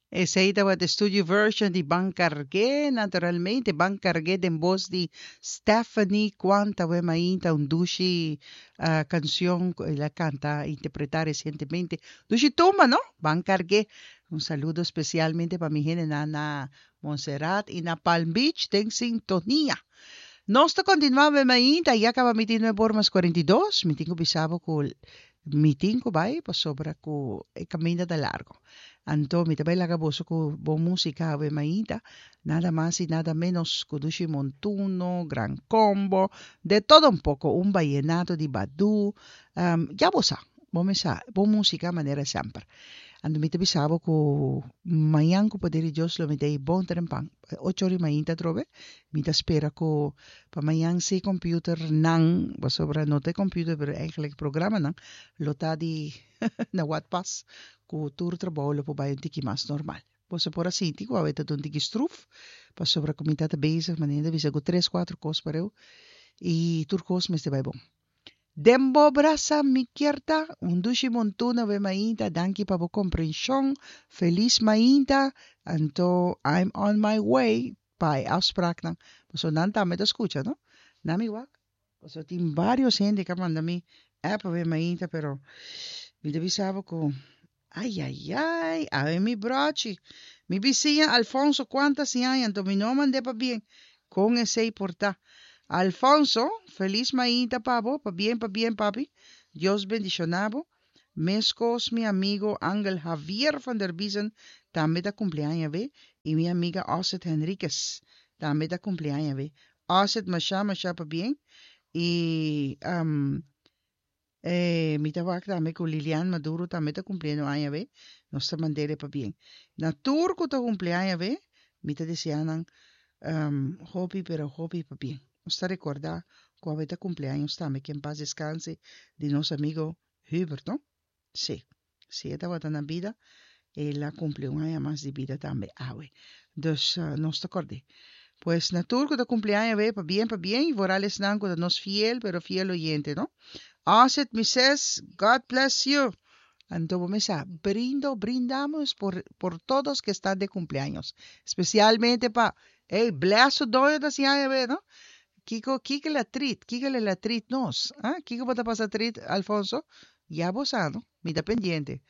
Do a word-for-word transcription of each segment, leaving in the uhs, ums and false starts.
Esey tabata e studio version di Ban Cargué, naturalmente, Ban Cargué den voz di Stephanie Quanta awe mainta, un dushi uh, cancion cu el a canta, interpreta recientemente. Dushi tumba, no? Ban Cargué. Un saludo especialmente pa mi hende na, na Montserrat y na Palm Beach, den sintonia. Nos ta continua awe mainta, ya caba mi tin nuebe or mas cuarenta y dos, mi tin cu bisa bo cu mi tin cu bay pasobra cu e caminda ta largo. Anto, mi tambe laga boso cu bon musica awe mainta, nada mas y nada menos cu Dushi Montuno, Gran Combo, de todo un poco, un vallenato di Badu, um, ya bo sa, bo sa, bon musica manera semper. Anto mi ta bisa bo cu mañan cu poder di Dios lo mi t'ey bon trempan. Ocho or mainta trobe. Mi ta spera cu pa mañan si computer nan, pasobra no ta computer, pero eigenlijk programa nan, lo ta di na wat pas cu tur trabou lo por bay un tiki mas normal. Bo por a sinti cu awe ta un tiki stroef, pasobra cu mi ta bezig, manera bisa cu tres, cuatro cos pareu y tur cos mester bay bon. Den bo brasa mi kier ta, un dushi montuno awe mainta, danki pa bo comprension, feliz mainta, anto I'm on my way, pa afspraak nan, so nan tambe ta scucha, no? Laga mi wak. So tin varios hende cu a manda mi app awe mainta, pero mi ta bisa bo cu ai ai ai, awe mi brochi, mi bisiña Alfonso cuanta aña, anto mi no mand'e pabien, con esey por ta. Alfonso, feliz mainta pa bo, pabien, pabien, papi. Dios bendiciona bo. Mescos mi amigo Angel Javier van der Biesen tambe ta cumpli aña awe y mi amiga Osset Henriquez tambe ta cumpli aña awe. Osset, masha masha pabien y um, eh, mi ta wak tambe cu Lilian Maduro tambe ta cumpliendo aña awe. Nos ta mand'e pabien. Na tur cu ta cumpli aña awe, mi ta desea nan um, hopi pero hopi pabien. Nos ta recorda cu awe ta cumpleaños tambe, que en paz descanse, di nos amigo Hubert, no? Si, si e tabata na bida, el a cumpli un aña mas di bida tambe awe. Dus uh, nos ta corda. Pues na tur cu ta cumpli aña awe, pabien, pabien, y vooral esnan cu nos fiel, pero fiel oyente, no? Aset, Missus, God bless you. Anto, mesa, brindo, brindamos por, por todos que están de cumpleaños. Especialmente pa, hey, bless doño da aña awe, no? Kiko, kiko la treat, kiko la treat nos. Ah, kiko bo ta pasa treat, Alfonso? Ya bo sa, no? Mi ta pendiente.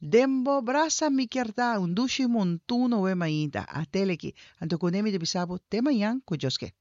Den bo brasa mi kier ta, un dushi montuno awe mainta. Ateleki. Anto cu ne mi ta bisa bo, te mañan, cu Dios ke.